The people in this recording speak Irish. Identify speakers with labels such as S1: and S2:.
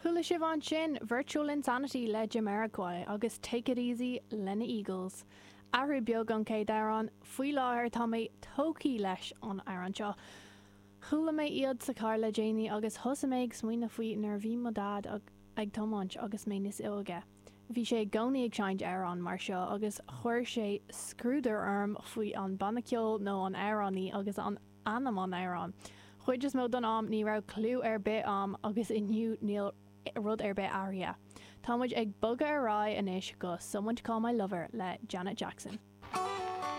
S1: Chuala sibh ansin Virtual Insanity le Jamiroquai agus Take It Easy le na Eagles. Athrú beag ón chéad amhrán, faoi láthair tá mé tógtha leis an amhrán seo. Chuala mé iad sa charr le déanaí agus thosaigh mé ag smaoineamh faoi nuair a bhí mo dhaid ag tiomáint agus mé níos óige. Bhí sé i gcónaí ag seinnt amhrán mar seo agus chuir sé scrúdar orm faoi an banna ceoil nó an amhránaí agus an ainm an amhráin. Chuid is mó don am ní raibh clue ar bith a'm agus inniu níl rud ar bith athraithe. Tá muid ag bogadh ar aghaidh anois go Someone to Call My Lover le Janet Jackson.